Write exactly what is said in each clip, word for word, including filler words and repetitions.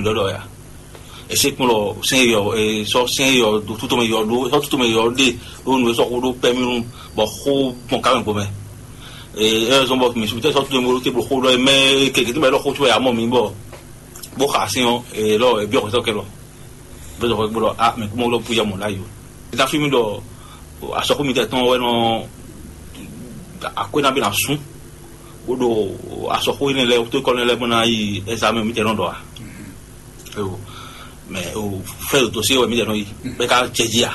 yɔ ɖɔ ya. Ese kpɔn lɔ sɛn yɔ e sɔ sɛn yɔ do tutomɛ yɔ do sɔ tutomɛ yɔ ɖe ɖo nu e sɔ xo ɖo pɛminu bɔ xo gbɔn kamɛ gbɔmɛ. Ee, ɛ zɔn bɔ mi sutɛ sɔ tutomɛ ɖo te blo xo ɖɔ mɛ keke tí ma ɖɔ xo tí wɛ amɔ mi bɔ bó xa sin ɔ, ee lɔ ebi ɔkɔtɔ kɛ lɔ bɛ zɔn xɔ gbɔdɔ a mɛ kúmɔ lɔ puyɔ mɔ la yo. Eta fi mi ɖɔ asɔkú mi tɛ tɔn wɛ nɔ akwɛ na bi na sún bó ɖo asɔkú yi ne lɛ tó kɔ ne lɛ bó na yi ɛzamɛ mi tɛ nɔ ɖɔ a. Ewo, mɛ o fɛ o dosie wɛ mi jɛ nɔ yi bɛ ka jɛ ji a.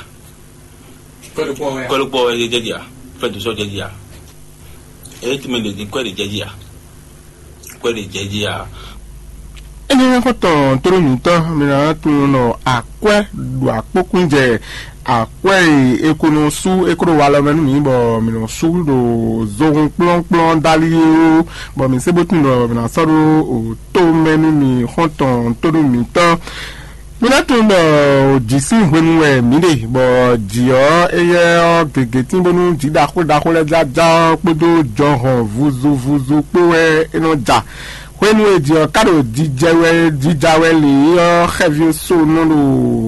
Kɔlɔ kpɔ wɛ jɛ ji a. Fɛ dosie jɛ ji a. Eye ti mɛ le di kɔɛ de jɛ ji a. Kɔɛ de jɛ ji a. Ene xɔtɔn toro mǐtɔn mi na tunwun nɔ akwɛ ɖo akpókún jɛ akwɛ e e ko nɔ sú e ko ɖo walɔ mɛ nú mǐ bɔ mǐ nɔ sú ɖo zohun kplɔ́nkplɔ́n dali é ó, bɔ mǐ se bó tunwun ɖɔ mǐ ná sɔ́ ɖó o tó mɛ nú mì xɔ́ntɔn tó nú mǐtɔn. Mi ná tunwun ɖɔ jǐ sín hwenu wɛ mǐ ɖe, bɔ jǐ ɔ́, éyɛ́ ɔ́, gěgé tín bónú jǐ ɖaxó ɖaxó lɛ́ɛ jájá ɔ́ kpódó jɔhɔn vuzuvuzu kpó wɛ é nɔ ja. Hwenu e jǐ ɔ́ ka ɖo jijɛ wɛ jija wɛ lě ɔ́, xɛví só nɔ ɖo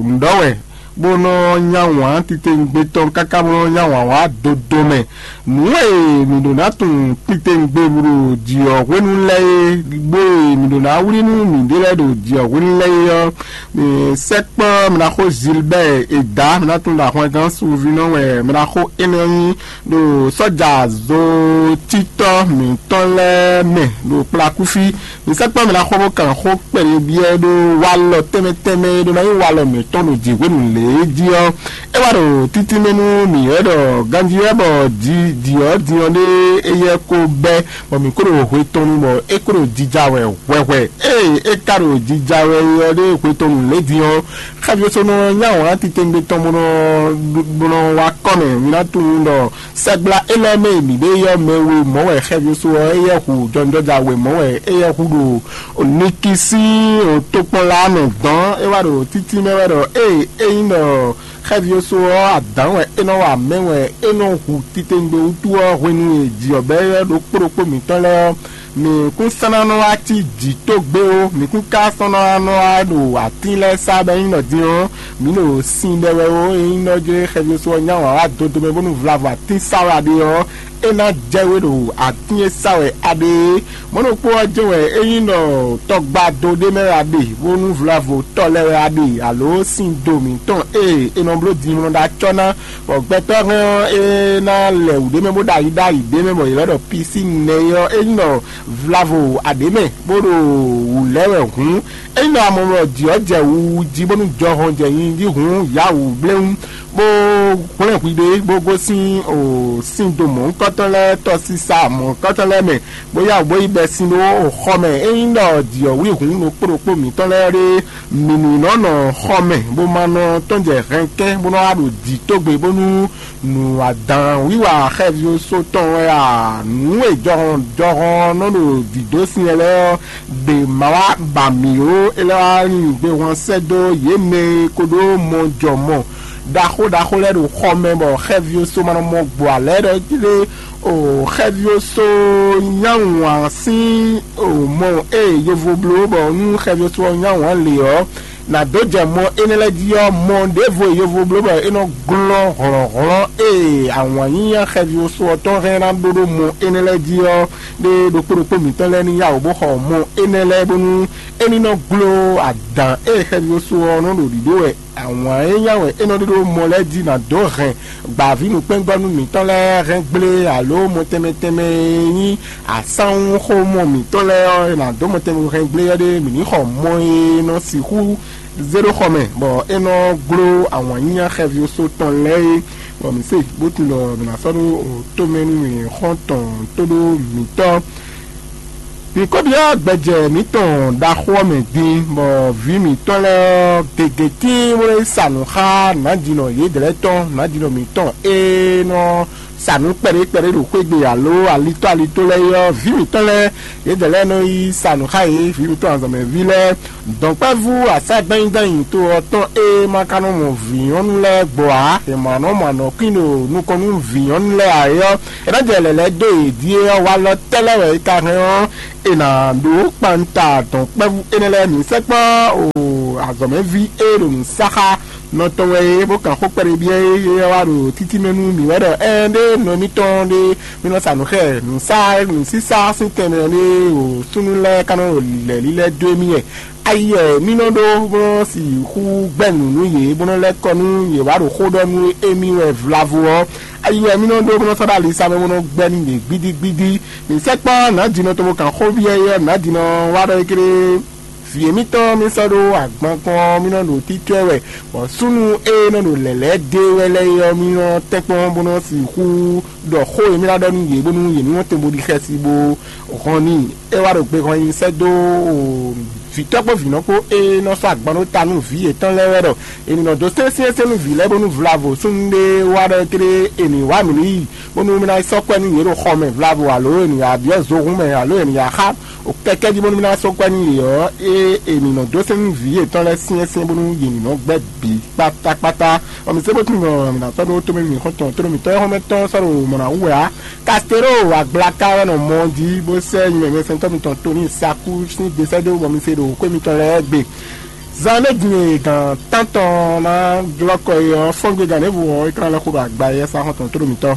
nǔ ɖɔ wɛ, bó nɔ nya wǎn titewungbe tɔn káká bó nɔ nya wǎn wá dodo mɛ. Nǔ e mǐ ɖǒ ná tunwun titewungbe ɖo jǐ ɔ́ hwenu lɛ́ɛ é, bó e mǐ ɖǒ ná wlí nú mǐɖée lɛ́ɛ ɖo jǐ ɔ́ hwenu lɛ́ɛ é ɔ́, mǐ sɛkpɔ́ mǐ ná xó Zilbɛ́ɛ e dǎ mǐ ná tunwun ɖo ahwangán sunvínɔ wɛ mǐ ná xó énɛ́ nyí ɖo sɔ́ja zotítɔ́ mǐtɔn lɛ́ɛ mɛ ɖo kplakúfí. Mi sɛkpɔ́ mɛ ná xɔ bó kan xó kpɛɖé byɔ́ ɖó walɔ tɛnmɛ tɛnmɛ e ɖó ná nyí walɔ mǐtɔn ɖo jǐ hwenu lě é jí ɔ́, é wá ɖo títí mɛ nú mǐ wɛ ɖɔ ganjí wɛ bɔ jǐ jǐ ɔ́ din ɔ́ ɖé éyɛ́ ko bɛ́, bɔ mǐ kó ɖo hwe tɔn nu bɔ é kó ɖo jija wɛ hwɛhwɛ. Ée é ka ɖo jija wɛ ɔ́ ɖé hwe tɔn nu lě din ɔ́, xɛ́ví ɔ́ sɔ́ nɔ nyá wǎn titewungbe tɔn bó nɔ bó nɔ wá kɔ́ mɛ. Mi ná tunwun ɖɔ sɛgbla élɔ́ mɛ e mǐ ɖe yɔ́ mɛ we mɔ̌ wɛ xɛ́ví ɔ́ só ɔ́, éyɛ́ hu jɔnjɔ́ja we mɔ̌ wɛ éyɛ́ hu ɖo Nikisín tokpɔnla mɛ dɔn é wá ɖo títí mɛ wɛ ɖɔ ée é nyí ɖɔ xɛ́ví ɔ́ só ɔ́ adǎn wɛ é nɔ wa mɛ̌ wɛ é nɔ hu titewungbe wútu ɔ́ hwenu e jǐ ɔ́ bɛ́ ylɔ́ ɖokpó ɖokpó mǐtɔn lɛ́ɛ ɔ́, mǐ kún sɔ́ ná nɔ wá cí jǐ tógbé ó, mǐ kún ka sɔ́ ná nɔ wá ɖo atín lɛ́ɛ sá bɔ é nyí nɔ din ɔ́, mǐ ɖo sin ɖɛ wɛ ó. É nyí nɔ jlé xɛví só ɔ́ nyá wǎn wá dodo mɛ bónú vlavo atín sá wɛ a ɖe ɔ́, é ná jɛ we ɖo atín e sá wɛ a ɖe é. Mɔ̌ ɖokpó ɔ́ jɛ́n wɛ é nyí nɔ tɔgbado ɖé mɛ wɛ a ɖe, bónú vlavo tɔ lɛ́ɛ wɛ a ɖe, alo sin do mǐtɔn e è nɔ bló din nɔ ɖó acɔ́ ná, bɔ gbɛtɔ́ hɛn ɔ́, é ná lɛ wǔ ɖé mɛ bó ɖo ayi ɖó ayi ɖé mɛ, bɔ yě lɛ́ ɖɔ pisíni nɛ́ é ɔ́, é nyí nɔ vlavo aɖě mɛ, bó ɖo wǔ lɛ́ wɛ hǔn, é nyí nɔ amɔmlɔ jǐ ɔ́ jɛ wuwu jí bónú jɔhɔn jɛ nyi jí hǔn yǎ wǔ bléwún, bó hwlɛ́n hwi ɖé, bó gosín o sín do mɔ̌hunkɔtɔn lɛ́ɛ tɔsisa mɔ̌hunkɔtɔn lɛ́ɛ mɛ, bó yá wǔ bó yi bɛ́ sin ɖó xɔ mɛ. É nyí ɖɔ jǐ ɔ́ wlí hǔn ɖokpó ɖokpó mǐtɔn lɛ́ɛ ɖé, mǐ ní nɔ nɔ xɔ mɛ, bó ma nɔ tɔ́n jɛ hɛnkɛ́n, bó nɔ wá ɖo jǐ tógbe, bónú nǔ adǎn wiwa xɛví só tɔn wɛ a? Nǔ e jɔhɔn jɔhɔn nɔ ɖo dǐdó sin lɛ́ɛ ɔ́, ɖě ma wá ba mǐ ó, é lɛ́ wá nyi gbehwan sɛ́ dó yě mɛ e ko ɖó mɔ jɔ mɔ ɖaxó ɖaxó lɛ́ɛ ɖo xɔ mɛ, bɔ xɛví só ma nɔ mɔ gbɔ alɛ ɖɔ jí ɖé o. Xɛví só nyá wǎn sín o mɔ e yovo bló, bɔ nú xɛví só ɔ́ nyá wǎn lě ɔ́, nǎ dó jɛ mɔ énɛ́ lɛ́ɛ jí ɔ́, mɔ ɖěvo e yovo bló bɔ é nɔ glɔ́n hlɔ̌nhlɔ́n e awǎn nyínyá xɛví só ɔ́ tɔn hɛn ná ɖó ɖó mɔ énɛ́ lɛ́ɛ jí ɔ́, ɖé ɖokpó ɖokpó mǐtɔn lɛ́ɛ ní yá wǔ bó xɔ mɔ énɛ́ lɛ́ɛ, bónú é ní nɔ gló adǎn e xɛví só ɔ́ nɔ ɖo ɖiɖó wɛ. Awǎn e nya wɛ é nɔ ɖe ɖó mɔ lɛ́ɛ jí ná dó hɛn gbǎvínǔkpɛ́ngɔ́nú mǐtɔn lɛ́ɛ hɛn gblé, alo mɔ tɛnmɛ tɛnmɛ e nyí asánwúxomɔ mǐtɔn lɛ́ɛ ɔ́, è nǎ dó mɔ tɛnmɛ hɛn gblé ɔ́ ɖé, mǐ ní xɔ mɔ e nɔ sixú zé ɖó xɔ mɛ, bɔ é nɔ gló awǎn nyínyá xɛví só tɔn lɛ́ɛ é, bɔ mǐ se bó tunwun ɖɔ mǐ ná sɔ́ ɖó tomɛ nú mǐ xɔ́ntɔn tóɖó mǐtɔn. Mǐ ko byɔ́ gbɛjɛ mǐtɔn ɖaxó ɔ́ mɛ din, bɔ vǐ mǐtɔn lɛ́ɛ ɔ́ gěgé tíin bó nɔ́ yi sa nǔ xá nǎjínɔ yědɛɛ lɛ́ɛ tɔn, nǎjínɔ mǐtɔn e nɔ sa nǔ kpɛɖé kpɛɖé ɖo xwé gbe alo alitó alitó lɛ́ɛ é ɔ́, vǐ mǐtɔn lɛ́ɛ, yědɛɛ lɛ́ɛ nɔ yi sa nǔ xá yě, vǐ mǐtɔn azɔ̌mɛví lɛ́ɛ. Dɔ̌nkpɛ́vú asá gbɛ́nyídányi to ɔ́ tɔn e ma ka nɔ mɔ vǐ nyɔ́nu lɛ́ɛ gbɔ ǎ, è ma nɔ mɔ anɔ̌kwín ɖo nukɔn nú vǐ nyɔ́nu lɛ́ɛ ǎ é ɔ́, é ná jɛ lɛ̌lɛ̌ dó yě ɖíe ɔ́, walɔ tɛ́ lɛ́ɛ wɛ é ka hɛn ɔ́, è nǎ ɖó kpanta dɔ̌nkpɛ́vú énɛ́ lɛ́ɛ. Mǐ sɛkpɔ́ o azɔ̌mɛví e ɖo nǔ sa xá nɔ tɔn wɛ é, bó kan xó kpɛɖé byɔ́ é, é wá ɖo títí mɛ nú mǐ wɛ ɖɔ ɛɛn ɖé nɔ émítɔn ɖé mí nɔ sa nǔ xɛ nǔsá nǔsísá sín tɛnmɛ ɔ́ ɖé o súnnu lɛ́ɛ ka nɔ lɛ̌ lílɛ́ dó émí wɛ. Ayi wɛ mí nɔ ɖó bó nɔ sixú gbɛ́ nǔ nú yě bó nɔ lɛ́ kɔ nú yě wá ɖo xó ɖɔ nú émí wɛ vlavo ɔ́. Ayi wɛ mí nɔ ɖó bó nɔ sɔ́ ɖo ali sa mɛ bó nɔ gbɛ́ nú yě gbídígbídí. Mǐ sɛkpɔ́ nǎjínɔ tɔn bó kan xó byɔ́ é ɔ́, nǎjínɔ wá ɖɔ é kéré vǐ émítɔn mì sɔ́ ɖó agban kpɔ́n ɔ́, mì nɔ ɖo títwɛ wɛ, bɔ súnnu e nɔ ɖo lɛ̌lɛ̌ dé wɛ lɛ́ɛ é ɔ́, mì nɔ tɛ́nkpɔ́n bó nɔ sixú ɖɔ xó e mì ná ɖɔ nú yě bónú yě ní nɔ tɛn bó ɖi xɛsi bó hɔn n'i. É wá ɖo gbe hɔn nyi sɛ́ dó vǐtɔ́ kpó vǐnɔ kpó e nɔ sɔ́ agban ɖó ta nú vǐ yětɔn lɛ́ɛ wɛ ɖɔ è nǐ nɔ dó sɛ́n syɛ́nsyɛ́n nú vǐ lɛ́ɛ bónú vlavo súnnu ɖé wá ɖɔ é kéré è nǐ wá mǐ ní yi bónú mì ná yi sɔ́ kwɛ́ nú yě ɖo xɔ mɛ vlavo alo è nǐ ya byɔ́ zohún mɛ alo è nǐ ya xá o kɛkɛ jí bónú mì ná sɔ́ kwɛ́ nú yě ɔ́, é è nǐ nɔ dó sɛ́n nú vǐ yětɔn lɛ́ɛ syɛ́nsyɛ́n bónú yě ní nɔ gbɛ́ bǐ kpátákpátá. Bɔ mǐ sɛ́ bó tín gbɔn mǐ ná sɔ́ ɖó tómɛ mǐ xɔ́ntɔn tónú mǐtɔn e xɔ́mɛ tɔn sɔ́ ɖo mɔ̌ ná wú wɛ ǎ. Kastero agblaka wɛ nɔ mɔ jí bó sɛ́ nyumɛmɛsɛntɔ́ mitɔn Toni Saku sín desɛ́ dó bɔ mi se ɖo xwé mitɔn lɛ́ɛ gbe. Zan ɖé din e gǎn tántɔn ná glɔ́ kɔ é ɔ́, fɔ́ngbegán ɖěvo ɔ́, é ka ná lɛ́ xo ɖo agba e yɛ sá xɔ́ntɔn tónú mǐtɔn.